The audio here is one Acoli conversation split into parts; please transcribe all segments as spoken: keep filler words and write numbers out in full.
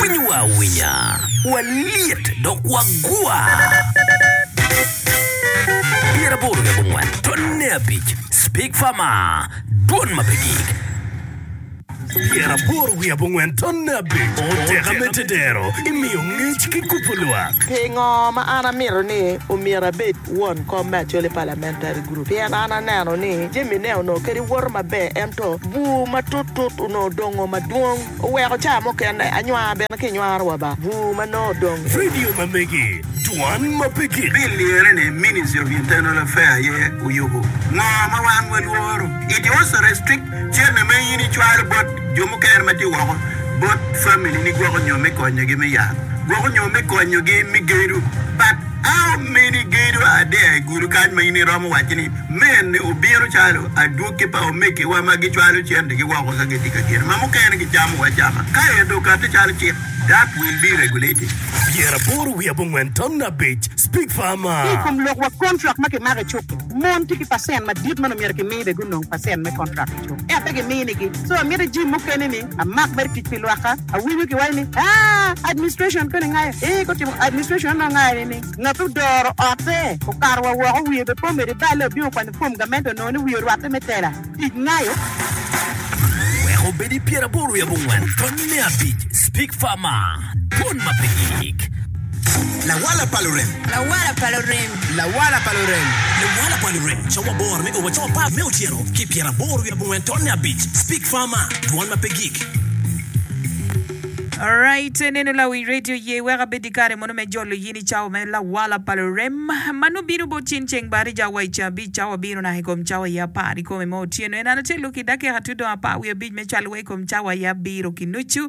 Winyowa awinya, walyet dok wagwa. Pyeraboro wiye abongwen tonne abic Speak Farmer, dwon ma pe gik. Pyeraboro wiye abongwen tonne abic Oteka me tedero imiyo ngec ki kubo lwak. Pingo ma an amito ni omyero abed won kom me Acholi Parliamentary Group? Pien an aneno ni jamine onongo kadi woto maber ento bur matut-tut onongo dongo madwong oweko ca mukene anywar bene kinywaro wa ba bur ma nongo odong. Radio ma megi, dwan ma pe gik. Bill lire ni Ministry of Internal Affairs aye oyubo. Ngo ma wan walworo? It also restrict cente ma in icwalo bot jo mukene ma tye woko bot family ni gwoko nyo me konyogi me yat, gwoko nyo me konyogi me gedo. But how many gedo are there i Gulu kany ma in iromo waco ni mene obino calo adwogi pa omegiwa ma gicwalo centegi woko ka gitye ka gedo ma mukene gicamo wa acama ka ento okati calo cik that will be regulated. Pyeraboro wiye abongwen ton abic Speak Ki i Farmer. kom lok wa kontrak ma kimako i cuk-ki, mon tye ki pacent madit ma nongo myero kimi bene gunong pacent me kontrak i cuk, ento pe giminigi. So amito jim mukene ni amak mere tic pi lwakka. Awinyo kiwaco ni, Aa, administration koni ngayo. Ee, gutimo administration onongo ngayo ni ngat odoro otte okato wa woko wiye bene pe omedo iballe obino okwanyo fom gamente onongo ni wiye orwatte me tela tic ngayo. Wek obed i pyeraboro wiye abongwen tonne abic Speak Farmer, dwon ma pe gik. Lawala pa lurem. Lawala pa lurem. Lawala pa lurem. Lawala pa lurem, cawa aboro me o wa cawa apar me otyeno ki pyeraboro wiye abongwen tonne abic Speak Farmer, dwon ma pe gik. Alright, neno lawi radio ye wek abed i kare mono me jolo yin i cawa me lawala pa lurem ma nongo bino bot cin ceng barija wa i cabic cawa bino naka i kom cawa i apar i kome me otyeno en an acel ki dakika tudong apar wiye abic me cwalo wa i kom cawa i abiro ki nucu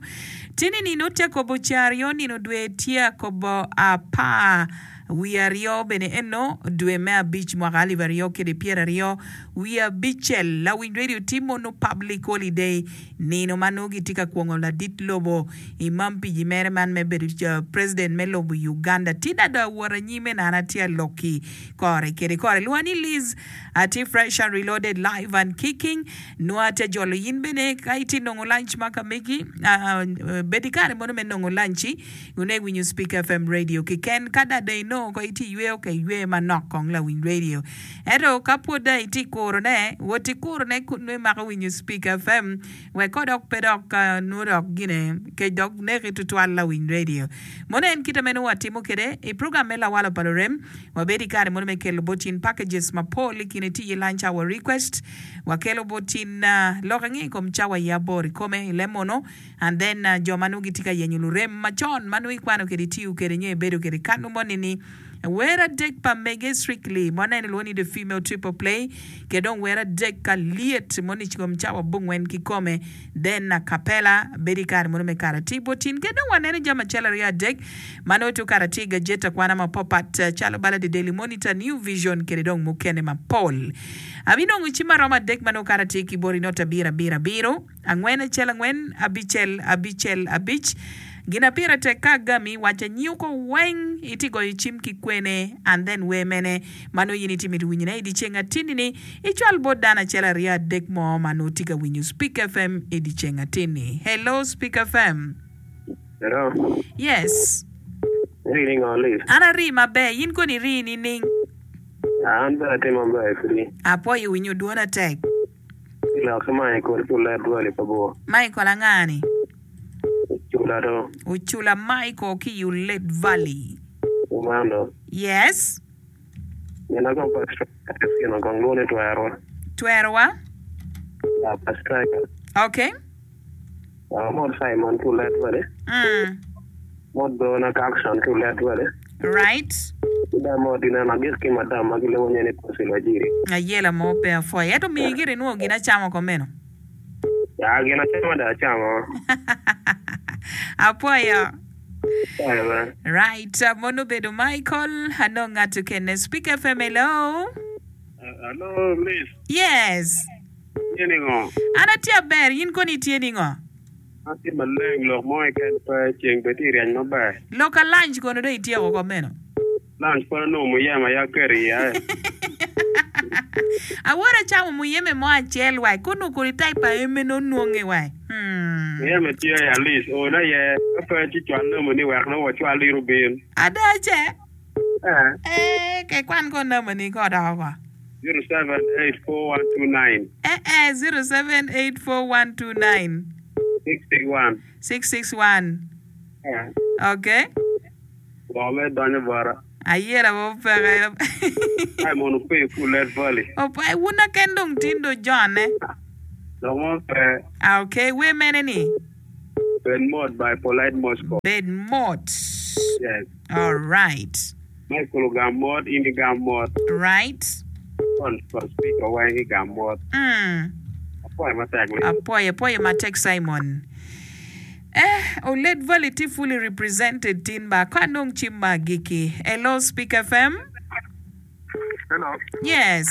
tini nino tye akobo ceng aryo nino dwe tye akobo apar wiye aryo bene eno dwe me abic mwaka alip aryo kede pyeraryo wiye abicel lawiny radio tye mono public holiday Nino ma nongo gitye ka kwongo ladit lobo i mampiji mere man me bedo president me lobo Uganda. Tida do awot anyime nana atye aloki kore kede kore. Lwonga ni Liz atye fresh and reloaded live and kicking. Nongo atye jolo in bene ka itye nongo lunch ma ka megi bed ki kare mono me nongo lunch-ci wun winyo Speak F M radio keken. Ka da dong inongo ko itye iyweyo ka iywe manok kong lawiny radio. Ento ka pwod dong itye kurone, wot ikurone kun nongo imako winyo Speak F M wek ko dok pe dok nongo dok gine kec dok neki tutwal lawiny radio. Mono en kite meno watimo kwede i program me Lawalo pa Lurem. Wabedo i kare mono me kelo bot in packages mapol i kine tye iye lunch hour request. Wakelo bot in lok ange i kom cawa i aboro i kome i lem mono and then jo ma nongo gitye ka yenyo lurem macon ma nongo ikwano kwede itiyo kwede nyo ibedo kwede kanu moni ni Wer adek pa mege Strictly ma waneno ilwongo ni The Female Triple Play ki dong wer adek ka lyet moni kom cawa abongwen kikome then acapella bedo i kare mono me kare atir bot in ki dong waneno jami acel aryo adek ma nongo tye okato atir i gajeti akwana mapapat calo bala The Daily Monitor, New Vision kede dong mukene mapol. Abinongo cim maromo adek ma nongo okato atir ki boti not abiro abiro abiro. Angwen acel angwen abicel abicel abic Gin pire tek ka agami waca nyuko weng iti goyo cim ki kwene and then wer mene ma nongo in iti mito winyo ne idi ceng atini ni icwal bot dano acel aryo adek mo ma nongo tye ka winyo Speak F M idi ceng atini. Hello Speak F M. Hello. Yes. Iri ningo Liz? An ari maber, in kono iri nining? An bene atye maber piri. Apwoyo winyo dwona tek. Lok ki Michael ki olet dwali pa bor. Michael anga ni? Ocula do. Ocula Michael ki i Olet Valley. Kumano. Yes. Gin akong pa striker gin akong lwongo ni twerowa. Twerowa? Ya pa striker. Okay. Amot Simon ki olet valley. Mm. Mot Dona ki Action ki olet valley. Right. Ki dong mot ineno agik ki madam ma gilwongo nye ni Pussy Lwajiri. Ayela mo pe apwoyo. Ento miyi gire inwongo gin acama ko meno. Ya gin acama dong acamo. Apwoyo. Apwoyo bene. Right. Mono obedo Michael. Anong ngat okene. Speak F M hello. Hello Liz. Yes. Itye ningo? An atye aber, in kono itye ningo? An atye maleng, lok mo keken pe, ceng bene tye ka ryeny maber. Lok ka lunch kono dong ityeko ko meno? Lunch pud anongo muyeme aye aketo iye. Awora camo muyeme mo acel wai kono kodi type pa eme no nonge wai. Hmm. Muyeme tye i Alice ona ye ka pe ci cwal namba ni wek nongo wacwal iro bin. Ada ce? Eh. Eh, ke kwan ko namba ni ko doko ko. Zero seven eight four one two nine. Eh eh, zero seven eight four one two nine. Six six one. Six six one. Eh. Okay. Go me donyo bora. Ayera bo peke. Simon Ope Kulet Valley. Ope wuna ken dong tindo John eh. Dok mo pe. Ah, okay, we mene ni? Bed Mot by Polite Moscow. Bed Mot. Yes. All right. Michael ogam mot, in igam mot. Right. On for speaker weng igam mot. Mm. Apoyo matek li. Apoyo, apoyo matek Simon. Eh, Olet Valley ti fully represented tin ba ka nong cim ma agiki. Hello, Speak F M. Hello. Yes.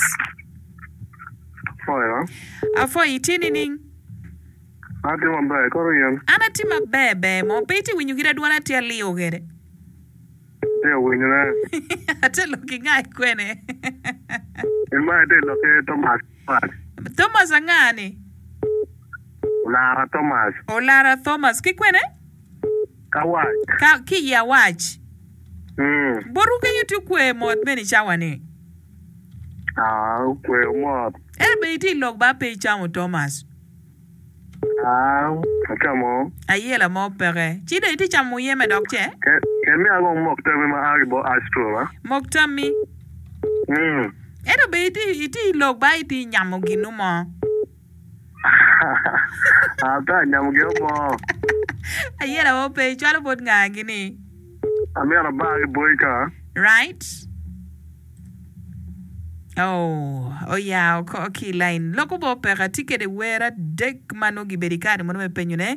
Afoyo. Afoyo, itye nining? Atye maber, koro in? An atye maber ber mo, pe itye winyo kit adwona tye aliyo kede? Atye winyone. Atye lok ki nga kwene? In ma itye lok ki Thomas. Thomas anga ni? Olara Thomas. Olara Thomas ki kwene? Kawac. Ka, ki i awac. Mm. Boru kenyo tye okwe mot meni cawa ni? Ah, okwe mot. Ento be itye i lok ba pe icamo Thomas? Ah, acamo. Ayela mo peke. Ci dong itye camo muyeme dok ce? Ke, ke miya kong mok tammi ma a ki bot Astro ba. Mok tammi? Mm. Ento be itye, itye i lok ba itye nyamo ginu mo? Ah, pe anyamo ginu mo. Ayela mo pe, icwalo bot nga gini? Amyero abar ki boyka. Right. Oh, oya oko ki i line. Loko bo peka tye kede wer adek ma nongo gibedo i kare mono me penyone.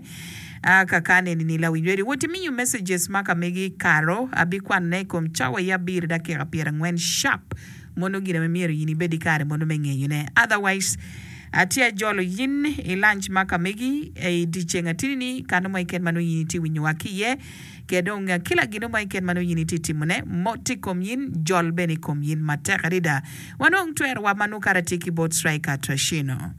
Ah, kaka neni ni lawiny radio. Wot imiyo messages ma ka megi karo abikwanone i kom cawa ya abiro dakika pyerangwen sharp. Mono gin ame myero in ibed i kare mono me ngeyone. Otherwise, atye ajolo yin i lunch ma ka megi i dyeceng atini ni kano mo keken ma nongo in itye winyowa ki iye. Ke dong kila gino mo keken ma nongo in itye timone, mot i kom yin, jol bene i kom yin matek adada. Wanong twerowa ma nongo kara tye ki bot Striker Trashino.